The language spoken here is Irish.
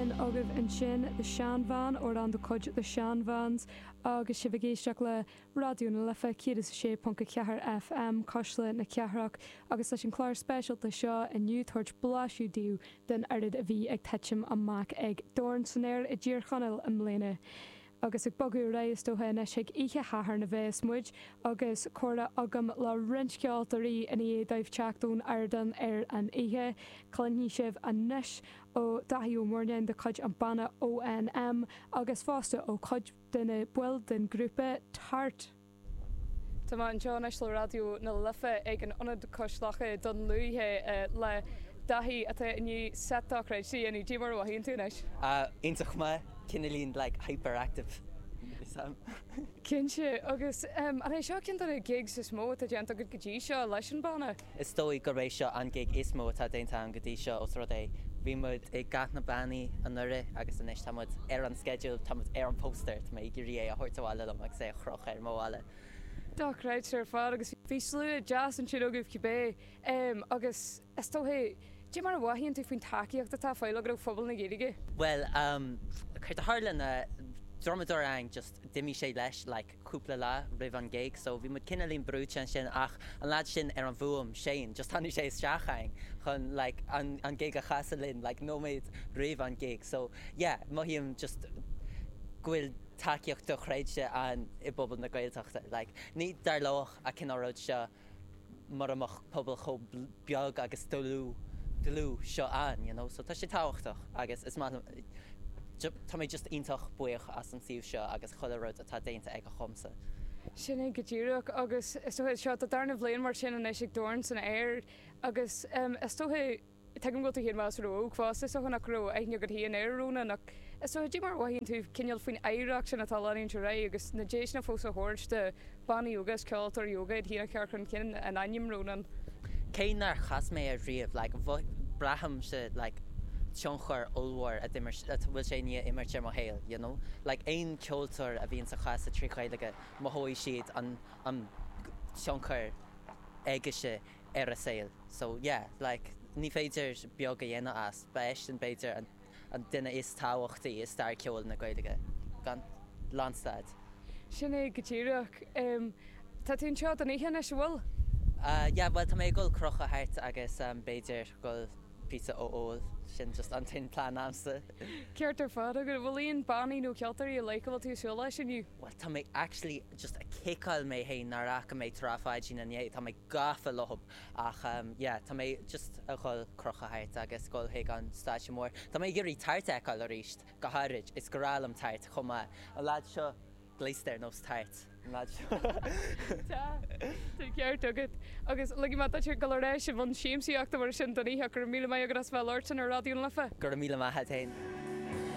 sin agaibh ansin, The Shan Van, amhrán de chuid The Shan Vans, agus sibh ag éisteacht le Raidió na Life 106.4 FM, Cuisle na Cathrach, agus leis an chlár speisialta seo inniu tabhairt blaiseadh daoibh den oiread a bhí ag titim amach ag Dorn san Aer i dTír Chonaill i mbliana. Agus ag bogadh ar aghaidh is dócha anois chuig oíche Shathairn a bheas muid agus comhrá agam le roinnt ceoltóirí i ndiaidh dóibh teacht ón ardán ar an oíche. Cluinfidh sibh anois ó Daithí Ó Murnáin de chuid an banna ONM agus fosta ó chuid de na baill den ghrúpa Tart. Tá mé anseo anois le Raidió na Life ag an Ionad Cois Locha i Dún Lúiche le Daithí atá i ndiaidh seit dochreidte a dhéanamh. Cad é mar a mhothaíonn tú anois? Iontach maith, cineáilín like hyperactive Sam. Cinnte, agus an é seo ceann de na gigs is mó atá déanta agat go dtí seo leis an banna? Is dóigh gurb é seo an gig is mó atá déanta agam go dtí seo os rud é bhí muid i gCath na Bannaí anuraidh agus anois tá muid ar an sceideal, tá muid ar an póstaer, tá mé ag iarraidh é a thabhairt abhaile liom agus é a chrochadh ar mo bhalla. Dochreidte ar fad agus bhí slua deas ansin agaibh cibé agus is dócha, cad é mar a mhothaíonn tú faoin tacaíocht atá á fáil agat ó phobal na Gaeilge? Bhuel, céard a tharla ná drumadóir againn just d'imigh sé leis like cúpla lá roimh an gig so bhí muid cineáilín brúite ansin ach an lad sin ar an bhfuaim, Shane, just tháinig sé isteach againn chun like an an gig a chasadh linn like nóiméad roimh an gig so yeah mothaím just go bhfuil tacaíocht dochreidte ann i bpobal na Gaeltachta like ní tharlódh an cineál rud seo mura mbeadh pobal chomh beag agus dlúth dlúth seo ann, you know, so tá sé tábhachtach agus is maith liom, tá mé just iontach buíoch as an suíomh seo agus chuile rud atá déanta aige dhomsa. Sin é go díreach agus is dócha seo do darna bhliain mar sin anois ag Dorn san Aer agus is dócha, Tuigim go bhfuil tú féin measartha óg fosta, is dócha nach raibh aithne agat féin ar Rónán ach is dócha cad é mar a mhothaíonn tú cineál faoin oidhreacht sin atá ag leanúint ar aghaidh agus na deiseanna fós a thabhairt do bhannaí óga is ceoltóirí óga iad féin a chur chun cinn in ainm Rónán. Cé nár chas mé air riamh, like, braithimse like tionchar ollmhór a d'imir, a bhfuil sé i ndiaidh imirt ar mo shaol, you know? Like aon ceoltóir a bhíonns ag casadh trí Ghaeilge, mothóidh siad an, an tionchar aige ar a saol. So yeah, like, ní féidir beag a dhéanamh as. Ba eisean b'fhéidir an an duine is tábhachtaí i stair ceoil na Gaeilge, gan lánstad. Sin é go díreach. Tá tú anseo don oíche anois, an bhfuil? Yeah, bhuel tá mé ag dul crochadh thart agus b'fhéidir dul píosa a ól, sin just an t-aon plean a'msa. Ceart ar fad agat. An bhfuil aon bannaí nó ceoltóirí ar leith go bhfuil tú ag súil leis inniu? Bhuel tá mé actually just ag ciceáil mé fhéin nár fhaca mé Trá Pháidín inné, tá mé gafa leothab ach yeah tá mé just a dhul crochadh thart agus dhul chuig an stáitse mór. Tá mé ag iarraidh Tart a fheiceáil arís, go háirid, is grá liom Tart chomh maith. An lad seo gléasta ar nós Tart, an lad seo. Tá, tá ceart agat. Agus ligfidh mé duit dul ar ais i mbun siamsaíochta mar sin don oíche. Go raibh míle maith agat as bheith ag labhairt linn ar Raidió na Life. Go raibh míle maith a't fhéin.